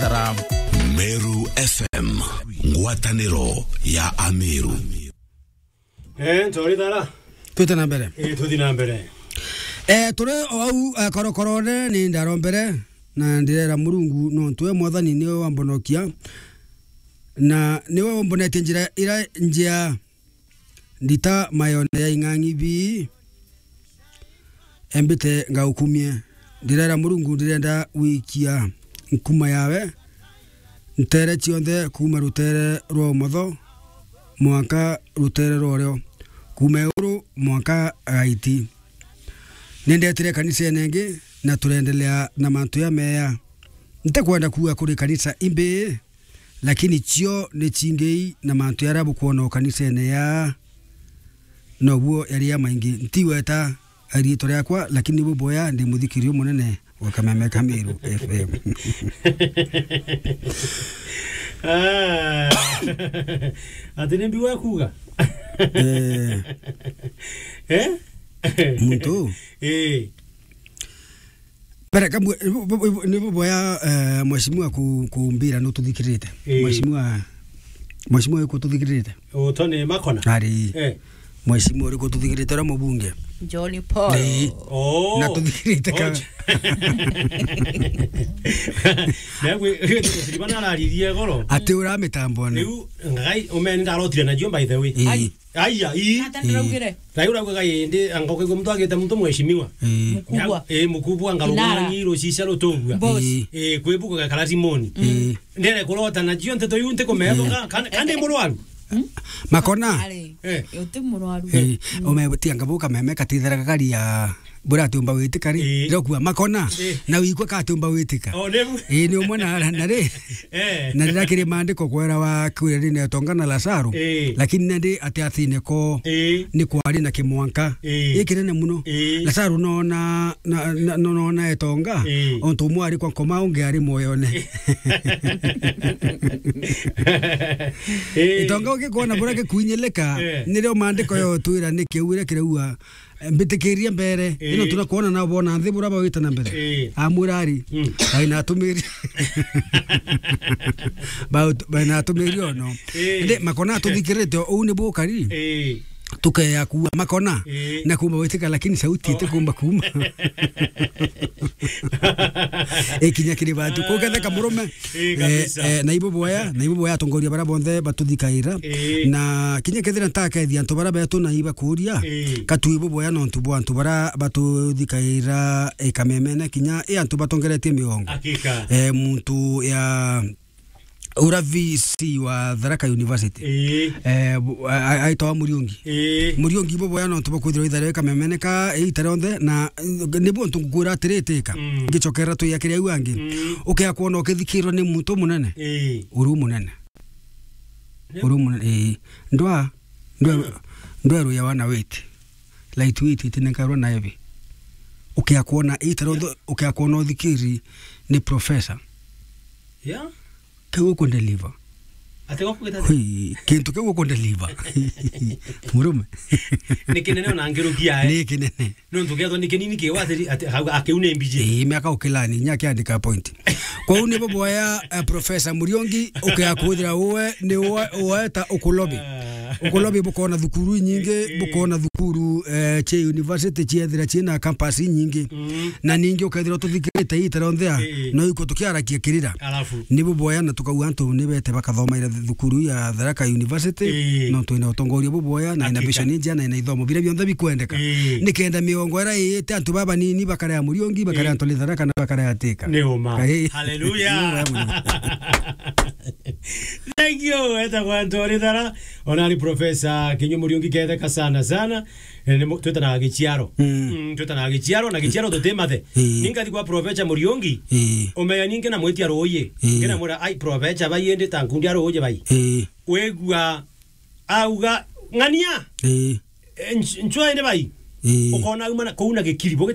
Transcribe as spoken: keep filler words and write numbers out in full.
Tara. Meru F M, ngwataniro ya Ameru. Eh, ntori tara. Twite na mbere. Eh, tuthi na mbere. Eh, turi o au, eh, korokorone ni ndarombere, na ndirera Murungu, nontu we Mwathani niwe wambonokia, na niwe wambonetie njira ira njia. Ndita mayone ya ing'ang'i bii, embite ngaukumie. Ndirera Murungu, ndirenda gwikia nkuma yawe ntere cionthe, kuuma rutere rwa umotho mwanka rutere rwa urio, kuuma iguru mwanka gaiti. Nindetire kanisene ingi, na turendelea na mantu ya meya. Ntikwenda kuuga kuri kanisa imbi, lakini cio ni cingei na mantu jaria bukwona o kanisene ya, nobuo jari jamaingi. Ntigweta riitwa riakwa, lakini buboya ndi muthikiriria munene wa Kameme ka Meru F M. Ah. Ati ni mbi wa kuuga? Eh. Eh? Muntu? Eh. Mbere, kamwe, bu-, bu-, bu-, ni buboya, eh, mheshimiwa ku-, kumbira nututhikirite. Ii. Mheshimiwa, mheshimiwa uyu kututhikirite? Utoni Makona? Ari. Eh. Mheshimiwa uri kututhikirite, uria mubunge? John Paul. Ii. Oh. Na tuthikirite ka- Oh. Na gwe, gwe, gwe, gwe, araririe goro. Ati ura mitambo na. Riu, ngai, umeni ndarotire na jio, by the way. Ii. Ai. Aya, ii. Nata ndiraugire? Rai uraugaga indi, anga ukaigua muntu agite muntu mheshimiwa. Ii. Mkubwa. Ii, mkubwa, anga Kinara. Rugang'i, rucicia, rutugua. Boss. Ii. Ii, kwi buku gakara Simoni. Ii. Ndere kurota na cio nteto iu ntikumethoka, kan-, kandi murwaru. Makona. Ari. Eh. Uti murwaru. Ii. Umebutia ngabu Kameme katithera gakari ya Bura atiumba witika ri, ii, rokua Makona, ii, na wikwa ka atiumba witika. O, ni bu- Ii, ni umwe na, na ri, eh, na riria kiri maandiko kwera wa kwira ri ni Etonga na Lazaro, ii, lakini nandi ati atine ko, ii, ni kwari na kimwanka, ii, gikinene muno. Ii. Lazaro nona, na, na, no-, nona Etonga, ii, ontu umwe ari kwa nkoma, ungi ari mwoyone. Ii. Etonga ugikwona bura gikuinyilika, eh, nirio maandiko yotwira ni kiu iria kiraua, mbitikirie mbere, ii, ino tunakwona nao bona nthi bura bawite na mbere. Ii. Amwira ari, mm, ai na atumiri. Bau-, bai na atumiri ono. Ii. Ndi Makona atuthikirite, uu ni bukari. Ii. Tukeya kuua Makona, ii, na kumba witika, lakini sauti, oh, itikumba kuma. Ikinya kiri bantu. Kugetheka murume. Ii, eh, kabisa. Eh, na ibo boya, na ibo boya atongoria bara bonthe batuthikaira. Ii. Na kinya kethira ntakethia antu bara betu na ibakuria, ii, katu ibo boya nontu bwa antu bara batuthikaira, eh, Kamemene kinya, eh, antu batongeretie miongo. Hakika. Eh, muntu ya ura V C wa Tharaka University. Ii. Eh, bu-, a-, a-, aitwa Muriungi. Ii. Muriungi ibo boya nontu bakwithirwa itharia Kamemene ka, eh, itare onthe na, eh, nibo ntu ngukwira atiritika. Mm. Ngicokera tuyakiria au angi. Mm. Ukea kwona ukithikirwa ni muntu munene. Ii. Uru munene. Yep. Uru munene, ii. Ndwa, ndwa, mm, ndweru ya wana witi. Light weight itinenkarwa na heavy. Ukea kwona itare onthe, yeah, ukea kwona uthikiri ni professor. Yeah. Kiu ukundeliver. Ati gokugita ati? Hui, kintu kiu ukundeliver. Murume. Ni kinene ona ngirukia, eh. Ni kinene. Nontu kiethwa ni kinini kiu ati, ati, hau, akiu ni mbiji. Ii, miaka ukilani, inya akiandika point. Kwou nibo boya, eh, Professor Muriungi, ukea kuthira uwe, ni uwe, uwe ta ukulobi. Ah. Ukulobi bukona thukuru inyingi, eh, eh, bukona thukuru, eh, cia university ciethira ciina campus inyingi. Mm. Na ningi ukethira tuthikirite itare onthe a, eh, eh, no iko tukiarakia kirira. Alafu? Nibo boya na tukauga antu ni bete bakathomaira thukuru ya Tharaka University, eh, no twina utongoria buboya, na ina, hakika, vision njia na ina ithomo biria bionthe bikwendeka. Eh. Nikenda miongo ira iite antu baba nini bakarea Muriungi, bakarea, eh, antu ni Tharaka na bakarea Thika. Ni uma. Eh. Hallelujah. Ni uma muno. Thank you, eta kwa antu ari Thara. Ona ari Professor Kinyu Muriungi ketheka sana sana. Eh, ni mu-, twitanaga giciaro. Mm. Mm, twitanaga giciaro, na giciaro tutimathe. Ii. Ningathi kwa Professor Muriungi, ii, umenya ningi na mwitia ruuji. Ii. Ngina mwira, "Ai, Professor, bai indi ta nkundi a ruuji bai." Ii. Wigua auga, "Ng'ania." Ii. Eh, nch-, nchwa indi bai. Ii. Ukona auma na, kuu na gikiri,